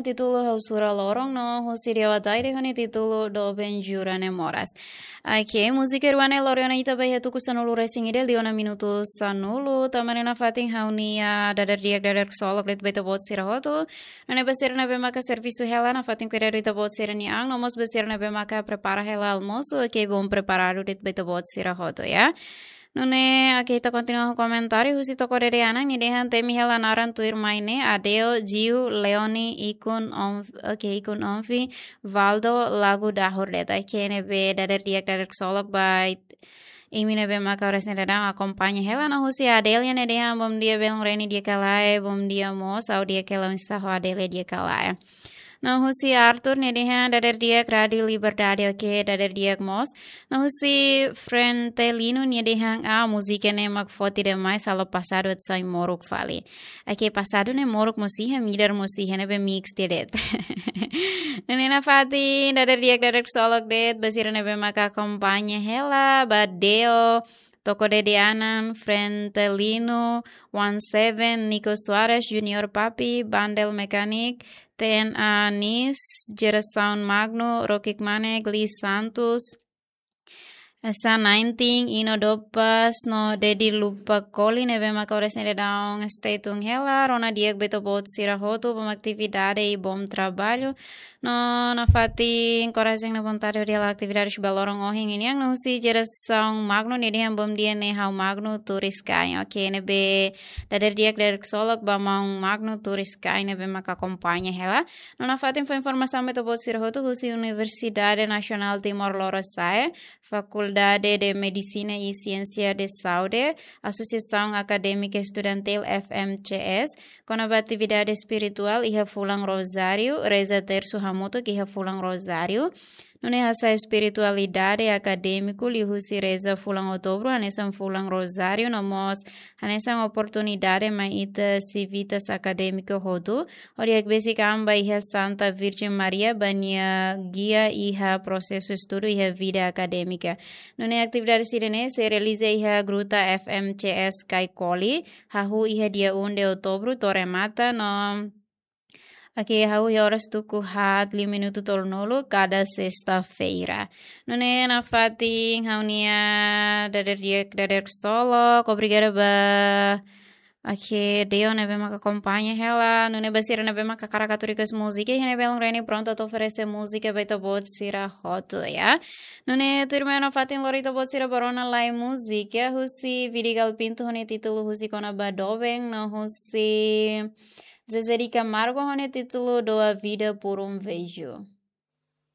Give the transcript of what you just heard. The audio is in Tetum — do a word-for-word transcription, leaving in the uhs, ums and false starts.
Títulu Ha'u Sura Loron no husi Dewa Daire ho nia títulu Doben Jura Ne'e Moras. Oke, múzika rua ne'e lori ona ita ba iha tuku sanulu resin ida, liu ona minutu sanulu, tanba ne'e nafatin ha'u-nia dadeer-di'ak, dadeer ksolok de'it ba ita-boot sira hotu. Nune'e ba sira ne'ebé maka servisu hela, nafatin kuidadu ita-boot sira-nia an, no mós ba sira ne'ebé maka prepara hela almosu, oke, bom preparadu de'it ba ita-boot sira hotu, ya. Nune'e, oke, ita kontinua ho komentáriu husi Toko Dede Anan, nia dehan temi hela naran tuirmai ne'e, Adeo, Jiu, Leoni, Ikun, Onf-, oke, Ikun Onfi, Valdo, Lagu Dahur de'it. Oke, ne'ebé dadeer-di'ak, dadeer ksolok ba imi ne'ebé maka oras ne'e daudaun akompaña hela. No husi Adelia, nia dehan bom dia belun Reni di'ak ka lae, bom dia mós, ha'u di'ak hela, oinsá ho Adelia, di'ak ka lae. No husi Arthur, nia dehan dadeer-di'ak Rádiu Liberdade, oke, dadeer-di'ak mós. No husi Frentelino, nia dehan, ah, múzika ne'e mak forte demais, halo pasadu atu sai moruk fali. Oke, pasadu ne'e moruk mós iha, midar mós iha, ne'ebé mix de'it. Nune'e nafatin dadeer-di'ak, dadeer ksolok de'it ba sira ne'ebé maka akompaña hela, ba Deo, Toko Dede Anan, Frentelino, One Seven, Nico Soares, Junior Papi, Bandel Mechanic, T N A Nis, Gerasaun Magno, Rokik Manek, Lee Santos, Esa Nineteen, Ino Dopas, no Dedi Lupa Koli, ne'ebé maka oras ne'e daudaun stay tune hela, rona di'ak ba ita-boot sira hotu, bom atividade i bom traballu. No nafatin korajen no vontade hodi halo atividade ba loron ohin nian, no husi Gerasaun Magno, nia dehan bom dia ne'e ha'u Magno turis kain. Oke, ne'ebé dadeer-di'ak, dadeer ksolok ba maun Magno turis kain ne'ebé maka akompaña hela. No nafatin fó informasaun ba ita-boot sira hotu husi Universidade Nasionál Timor Lorosa'e, Fakuldade de Medisina i Siénsia de Saúde, Asosiasaun Akadémika Estudantil, F M C S, kona-ba atividade espirituál iha fulan Rozáriu, reza tersu hamutuk iha fulan Rozáriu. Nune'e hasa'e espiritualidade akadémiku liuhusi reza fulan Outubru, hanesan fulan Rozáriu, no mós hanesan oportunidade mai ita sivitas akadémiku hotu, hodi hakbesik an ba iha Santa Virjen Maria, ba nia gia iha prosesu estudu iha vida akadémika. Nune'e atividade sira-ne'e sei realiza iha Gruta F M C S Kaikoli, hahú iha dia um de Outubru to'o remata, no oke, hahú iha oras tuku haat liu minutu tolunulu kada sesta-feira. Nune'e nafatin ha'u-nia dadeer-di'ak, dadeer ksolok, obrigada ba oke, Deo ne'ebé maka akompaña hela, nune'e ba sira ne'ebé maka hakarak atu request múzika, iha ne'e belun Reni prontu atu oferese múzika ba ita-boot sira hotu, ya. Nune'e tuirmai nafatin lori ita-boot sira ba rona lai múzika, husi Vidigal Pinto ho nia títulu husi kona-ba doben, no husi Zezé de Camargo ho nia títulu Dou a Vida por um Beijo.